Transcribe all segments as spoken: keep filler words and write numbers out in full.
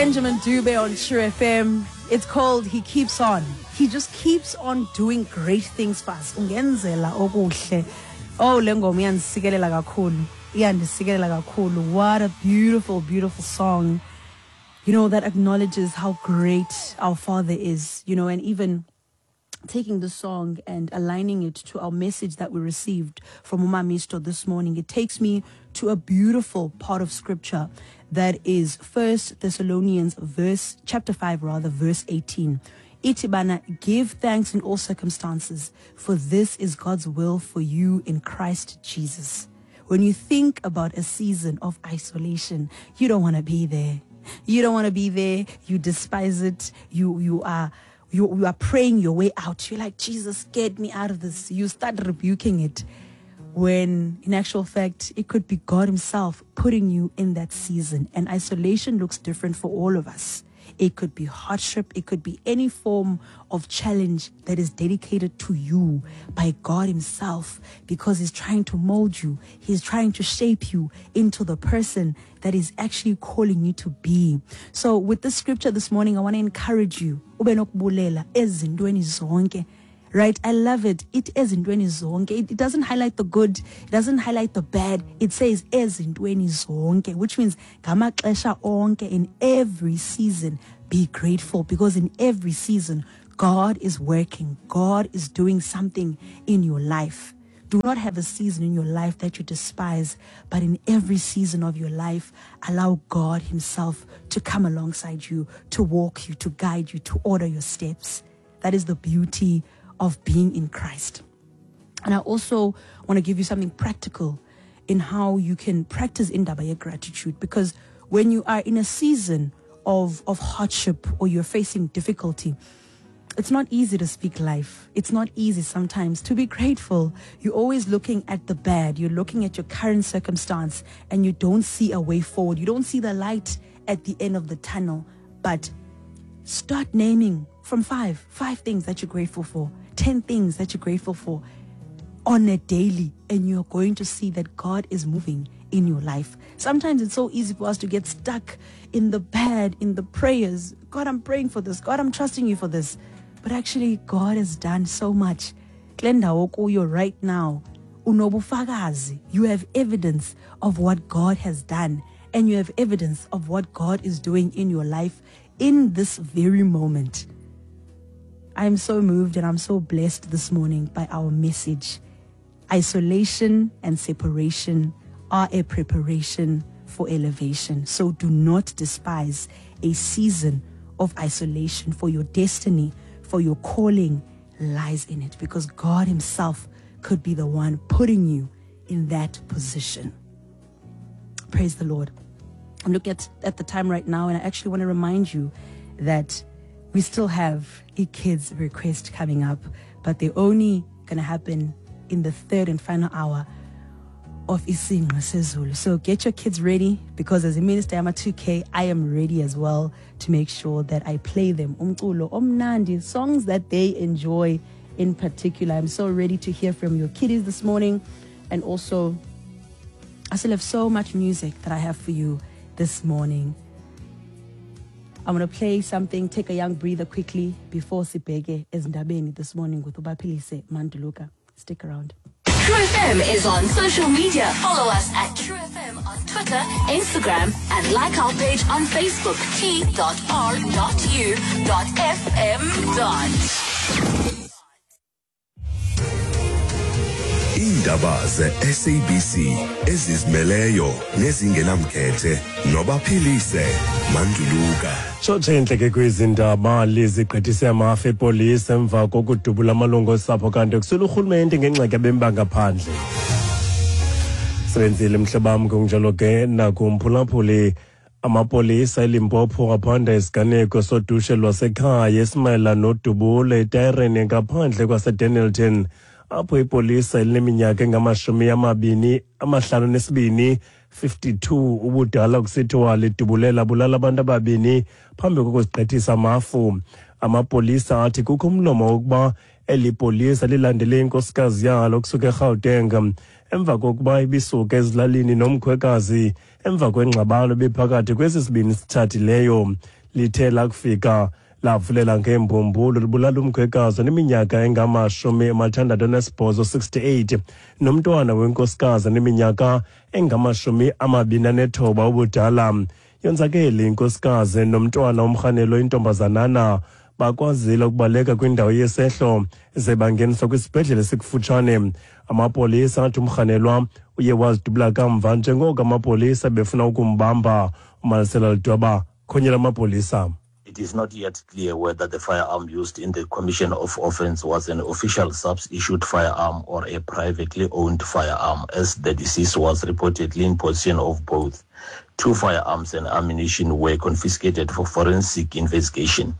Benjamin Dube on True F M. It's called He Keeps On. He just keeps on doing great things for us. Ungenzela okuhle. Oh, le ngoma iyandisikelela kakhulu. Iyandisikelela kakhulu. What a beautiful, beautiful song. You know, that acknowledges how great our Father is, you know, and even taking the song and aligning it to our message that we received from Umamisto this morning, it takes me to a beautiful part of scripture that is First Thessalonians verse, chapter five rather, verse eighteen. Itibana, give thanks in all circumstances, for this is God's will for you in Christ Jesus. When you think about a season of isolation, you don't wanna be there. You don't wanna be there. You despise it. You, you are... You, you are praying your way out. You're like, Jesus, get me out of this. You start rebuking it when in actual fact, it could be God himself putting you in that season. And isolation looks different for all of us. It could be hardship. It could be any form of challenge that is dedicated to you by God himself, because he's trying to mold you. He's trying to shape you into the person that is actually calling you to be. So with this scripture this morning, I want to encourage you. Ube nokubulela ezintweni zonke. Right? I love it. It ezintweni zonke. It, it doesn't highlight the good. It doesn't highlight the bad. It says ezintweni zonke, which means ngamaxesha onke, in every season, be grateful, because in every season, God is working. God is doing something in your life. Do not have a season in your life that you despise, but in every season of your life, allow God himself to come alongside you, to walk you, to guide you, to order your steps. That is the beauty of being in Christ. And I also want to give you something practical in how you can practice indaba ye gratitude, because when you are in a season of, of hardship or you're facing difficulty, it's not easy to speak life. It's not easy sometimes to be grateful. You're always looking at the bad. You're looking at your current circumstance and you don't see a way forward. You don't see the light at the end of the tunnel. But start naming from five, five things that you're grateful for, ten things that you're grateful for on a daily, and you're going to see that God is moving in your life. Sometimes it's so easy for us to get stuck in the bad, in the prayers. God, I'm praying for this. God, I'm trusting you for this. But actually, God has done so much. Kule ndawo okuyo right now, unobufakazi. You have evidence of what God has done, and you have evidence of what God is doing in your life in this very moment. I am so moved and I'm so blessed this morning by our message. Isolation and separation are a preparation for elevation. So do not despise a season of isolation, for your destiny, for your calling lies in it, because God himself could be the one putting you in that position. Praise the Lord. I'm looking at, at the time right now, and I actually want to remind you that we still have a kids request coming up, but they're only gonna happen in the third and final hour of Isingqi Sezulu. So get your kids ready, because as a minister, I'm a two K, I am ready as well to make sure that I play them umculo omnandi, songs that they enjoy in particular. I'm so ready to hear from your kiddies this morning. And also, I still have so much music that I have for you this morning. I'm gonna play something, take a young breather quickly before sibheke ezindabeni this morning with Ubaphilise Manduluka. Stick around. True F M is on social media. Follow us at True F M on Twitter, Instagram, and like our page on Facebook, T dot R dot U dot F M dot. Iindaba ze-S A B C ezizimeleyo nezingenamkhethe nobaphilise Manduluka. Tshotshe intleke kwizindaba lizigqithise amafa epolisi emva kokudubula amalungu osapho kanti kusula urhulumente ngengxaki yabemi bangaphandle. Sebenzile mhlobam, kunjalo ke nakumphulaphuli. Amapolisa eLimpopo aphanda isiganeko sodushe lwasekhaya esimayela nodubulo etayireni ngaphandle kwaseDennilton, apho ipolisa elineminyaka engamashumi amabini amahlanu nesibini fifty-two ubudala kusithiwa lidubulela bulala abantu ababini phambi kokuzigqithisa amafu. Amapolisa athi kukho umlomo wokuba eli polisa lilandele inkosikazi yalo kusuka eGauteng emva kokuba ibisuka ezilalini nomkhwekazi emva kwengxabano ebiphakathi kwesi sibini sitshatileyo. Lithe lakufika lavulela ngeembumbulu libulala umkhwekazi oneminyaka engamashumi amathandathu anesibhozo sixty-eight nomntwana wenkosikazi oneminyaka engamashumi amabini anethoba ubudala. Yonzakele inkosikazi nomntwana umrhanelo intombazanana bakwazile ukubaleka kwindawo yesehlo ze bangeniswa kwisibhedlele sikufutshane. Amapolisa athi umrhanelwa uye wazidubula kamva njengoko amapolisa befuna ukumbamba. UMarcelo Lidwaba khonyela amapolisa. It is not yet clear whether the firearm used in the commission of offense was an official S A P S-issued firearm or a privately owned firearm, as the deceased was reportedly in possession of both. Two firearms and ammunition were confiscated for forensic investigation.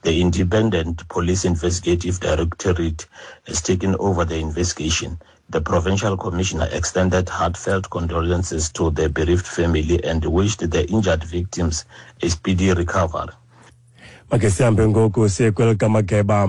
The Independent Police Investigative Directorate has taken over the investigation. The provincial commissioner extended heartfelt condolences to the bereaved family and wished the injured victims a speedy recovery. Make sihambe ngoku siye kwelikamageba.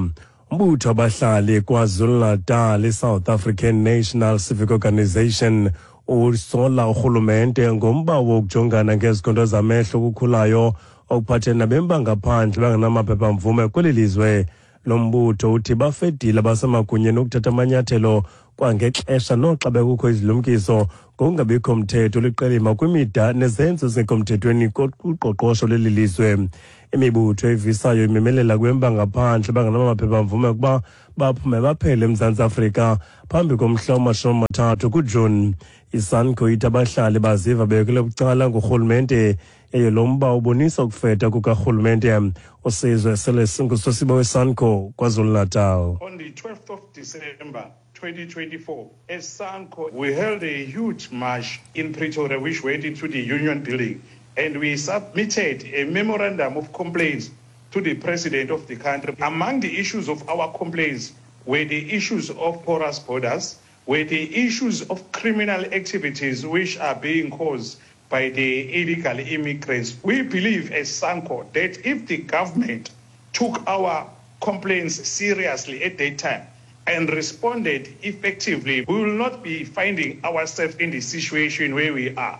Umbutho wabahlali KwaZulu-Natal, i-South African National Civic Organisation, usola urhulumente ngomba wokujongana ngezikhondo zamehlo okukhulayo okuphathene nabemi bangaphandle bangenamaphepha-mvume kweli lizwe. Lo mbutho uthi bafedile abasemagunyeni ukuthatha amanyathelo kwangexesha noxa bekukho izilumkiso ngokungabikho mthetho liqelima kwimida nezenzo ezingekho mthethweni kuqoqosho leli lizwe. Imibutho evisayo imemelela kubemi bangaphandle bangenamaphepha-mvume ukuba baphume baphele eMzantsi Afrika phambi komhla wamashumi amathathu kuJuni. ISANCO ithi abahlali baziva bekelwe bucala ngurhulumente, yaye lo mba ubonisa ukufeta kukarhulumente. Usizwe sele ngusosiba weSANCO KwaZulu-Natal. On the twelfth of December twenty twenty-four, as SANCO, we held a huge march in Pretoria, which went into the Union Building, and we submitted a memorandum of complaints to the president of the country. Among the issues of our complaints were the issues of porous borders, were the issues of criminal activities which are being caused by the illegal immigrants. We believe as SANCO that if the government took our complaints seriously at that time and responded effectively, we will not be finding ourselves in the situation where we are.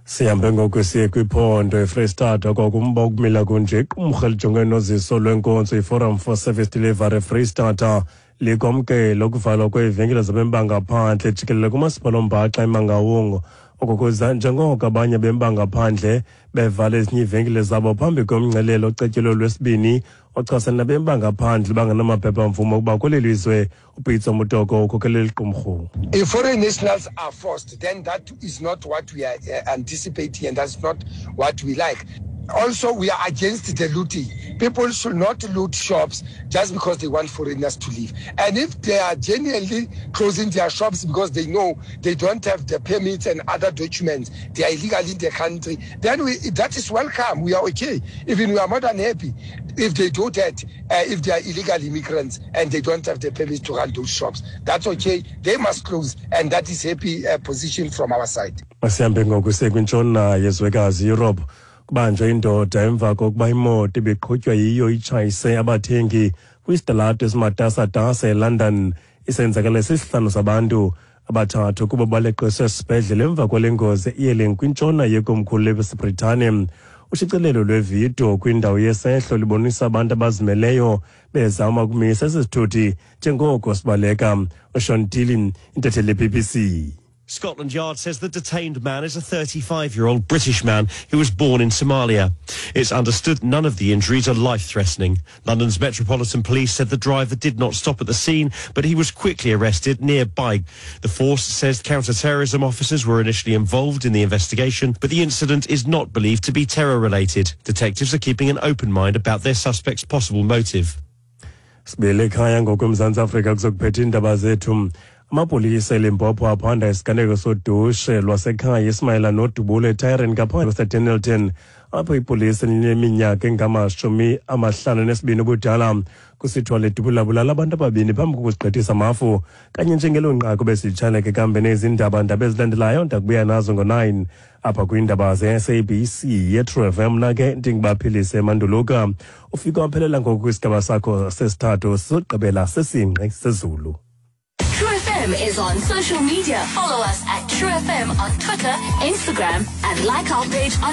Sihambe ngoku siye kwiphondo eFreystata kwakumba ukumila kunje. Iqumrhu elijongene noziso lwenkonzo iForum for Service Delivery eFreystata likwamkela ukuvalwa kweevenkile zabemi bangaphandle jikelele kumasipala ombhaxa eMangaung. Oko kuza njengoko abanye abemi bangaphandle bevala ezinye iivenkile zabo phambi komngcelele ocetyelwe lwesibini ochasene nabemi bangaphandle bangenamaphepha-mvume ukuba kweli lizwe. UPitso Mutoko ukhokelela iqumrhu. If foreign nationals are forced, then that is not what we are anticipating and that's not what we like. Also, we are against the looting. People should not loot shops just because they want foreigners to leave. And if they are genuinely closing their shops because they know they don't have the permits and other documents, they are illegal in the country, then we, that is welcome. We are okay. Even we are more than happy if they do that, uh, if they are illegal immigrants and they don't have the permits to run those shops. That's okay. They must close, and that is happy uh, position from our side. Masihambe ngoku siye kwintshona yezwekazi Europe. Kubanjwe indoda emva kokuba imoto ibiqhutywa yiyo itshayise abathengi kwisitalato esimatasatasa eLondon. Isenzakalo sisihlanu sabantu abathathu kuba baleqiswe esibhedlele emva kwale ngozi iyeleng kwintshona yekomkhulu leBritane. Ushicilelo lwevidiyo kwindawo yesehlo libonisa abantu abazimeleyo bezama ukumisa esi sithuthi njengoko sibaleka. USean Dillon, intatheli ye-B B C. Scotland Yard says the detained man is a thirty-five-year-old British man who was born in Somalia. It's understood none of the injuries are life-threatening. London's Metropolitan Police said the driver did not stop at the scene, but he was quickly arrested nearby. The force says counter-terrorism officers were initially involved in the investigation, but the incident is not believed to be terror-related. Detectives are keeping an open mind about their suspect's possible motive. Sibele ekhaya ngoku eMzantsi Afrika kuzokuphetha iindaba zethu. Amapolisa eLimpopo aphanda isiganeko sodushe lwasekhaya esimayela nodubulo eTyron ngaphandle kwaseDennilton, apho ipolisa elineminyaka engamashumi amahlanu nesibini ubudala kusithiwa ledubulabulala abantu ababini phambi kokuzigqithisa amafu. Kanye njengelo nqaku besitshaneke kambe nezindaba ndaba ezilandelayo ndakubuya nazo ngo-nine apha kwiindaba ze-S A B C ye-True F M. Mna ke ndingubaphilise Manduluka. Ufika waphelela ngoku kwisigaba sakho sesithathu sokugqibela sesingqi sezulu. True F M. F M is on social media. Follow us at True F M on Twitter, Instagram, and like our page on